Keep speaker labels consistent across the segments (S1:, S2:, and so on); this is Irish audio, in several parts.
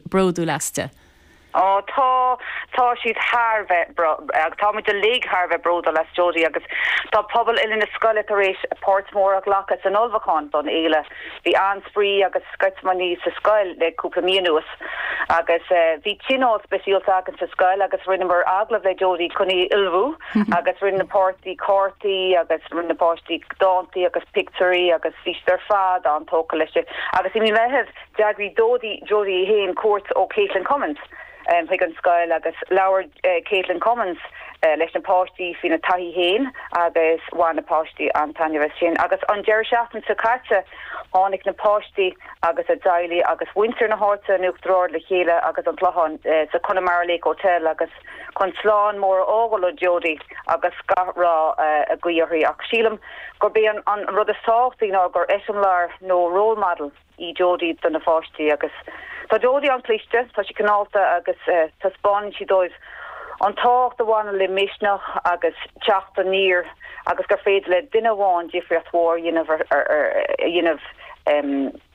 S1: Bródúil aisti.
S2: Ó tá, tá siad thar a bheith bro, agus tá muid uilig thar a bheith bródúil as Jodie agus tá pobal uile na scoile tar éis páirt mhór a ghlacadh san ullmhúchán don fhéile. Bhí an-spraoi agus sceitimíní sa scoil le cúpla mí anuas agus bhí tionól speisialta againn sa scoil agus rinneamar agallamh le Jodie chun í a ullmhú agus rinne na páistí cártaí agus rinne na páistí dántaí agus pictiúirí agus bhí siad ar fad an-tógtha leis agus i mí Mheithimh D'eagraigh Dodie, Jodie í féin cuairt ó Caitlin Cummins chuig an scoil agus labhair Caitlin Cummins leis na páistí faoina taithí féin agus bhain na páistí an-taitneamh as sin. Agus an deireadh seachtaine seo caite tháinig na páistí agus a dteaghlaigh agus muintir na háite in Uachtar Ard le chéile agus an Clochán sa Connemara Lake Hotel agus chun slán mór a fhágáil le Jodie agus gach rath a ghuí uirthi. Ach sílim gurb é an rud is tábhachtaí ná gur eiseamláir nó role model í Jodie do na pháistí agus tá Jodie an-chliste, tá sí cineálta agus taispeánann sí dóibh an tábhacht a bhaineann le misneach agus teacht aniar agus gur féidir le duine amháin difríocht mhór a dhéanamh a dhéanamh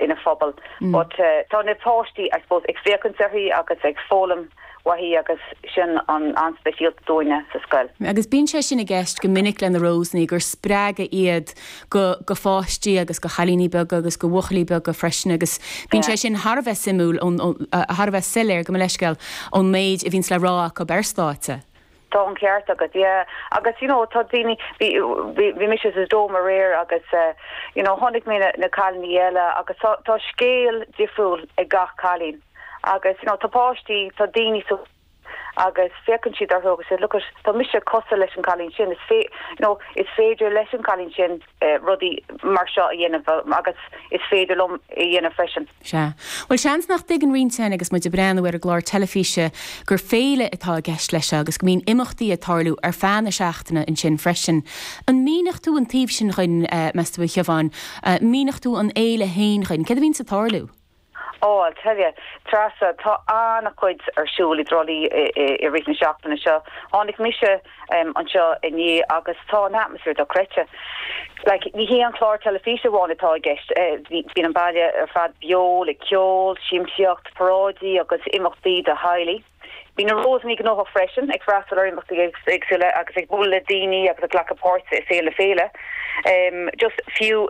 S2: ina phobal. But tá na páistí I suppose ag féachaint uirthi agus ag foghlaim uaithi
S1: agus sin an-speisialta dúinne sa scoil. Agus bíonn sé sin i gceist go minic le na Rósannaí, gur spreagadh iad go go pháistí agus go chailíní beaga agus go bhuachaillí beaga freisin agus bíonn sé sin thar a bheith suimiúil ón thar a bheith soiléir, gabh mo leithscéal, ón méid a bhíonns le rá acu ar stáitse.
S2: Tá an ceart agat, yeah. Agus you know tá daoine, bhí bhí bhí mise sa Dome aréir agus you know chonaic mé na na cailíní eile agus tá tá scéal difriúil ag gach cailín. Agus you know tá páistí, tá daoine sa agus féachann siad orthu agus say look at, tá mise cosúil leis an cailín sin, is fé, you know, is féidir leis an cailín sin rudaí mar seo a dhéanamh agus is féidir liom é a dhéanamh freisin.
S1: Sea. Bhuel, seans nach dtuigeann roinnt againn agus muid ag breathnú ar an gclár teilifíse gur féile atá i gceist leis seo agus go mbíonn imeachtaí ag tarlú ar feadh na seachtaine ansin freisin. An míneodh tú an taobh sin dhuinn, meas tú, a Shiobháin? Míneodh tú an fhéile féin dhuinn? Céard a bhíonns ag tarlú?
S2: Oh, I'll tell you, Treasa, tá an-chuid ar siúl i dTrá Lí i rith na seachtaine seo. Tháinig mise anseo inné agus tá an atmaisféar dochreidte. Like, ní hé an clár teilifíse amháin atá i gceist, bíonn an baile ar fad beo le ceol, siamsaíocht, paráidí agus imeachtaí do theaghlaigh. Bhí na Rósannaí gnóthach freisin, ag freastal ar imeachtaí éagsúla agus ag bualadh le daoine agus ag glacadh páirt i saol na féile. Just fiú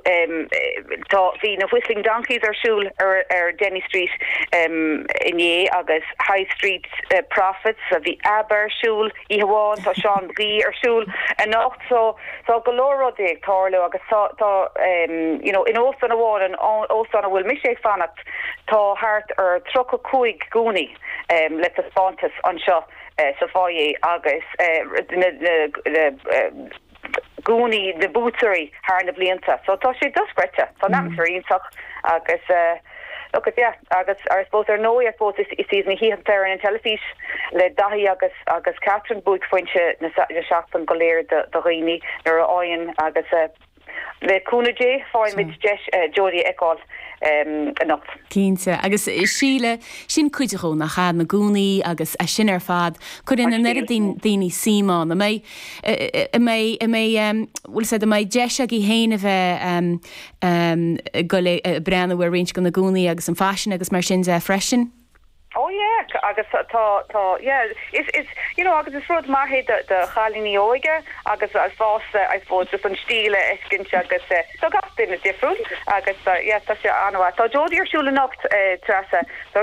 S2: tá, bhí na Whistling Donkeys ar siúl ar ar Denny Street inné agus High Street Prophets, bhí ABBA ar siúl oíche amháin, tá Seán McGee ar siúl anocht so tá go leor rudaí ag tarlú agus tá tá you know in óstán amháin, an óstán a bhfuil mise ag fanacht, tá thart ar 35 gúnaí. le taispeántas anseo sa foyer agus na gúnaí na buaiteoirí thar na blianta. So tá sé dochreidte. Tá an atmaisféar iontach agus look at yeah agus I suppose ar ndóigh I suppose is iad na hoícheanta ar an teilifís le Daithí agus agus Catherine buaicphointe na seachtaine go léir do dhaoine nuair a fhaigheann agus Le cúnamh Dé, faighimid deis Jodie a fheiceáil anocht.
S1: Cinnte. Agus Síle, sin cuid dhó, nach ea? Na gúnaí agus é sin ar fad. Cuireann an oiread daoine suim ann. An mbeidh, an mbeidh, an mbeidh, bhfuil 'fhios a'd, an mbeidh deis agaibh féin a bheith ag goil ag breathnú ar roinnt de na gúnaí agus an faisean agus mar sin de freisin?
S2: Oh yeah, agus tá, tá, yeah, is, is, you know, agus is rud maith é do, do chailíní óige agus fásta, I suppose, just an stíl a fheiscint agus tá gach duine difriúil agus yeah, tá sé an-mhaith. Tá Jodie ar siúl anocht, Treasa.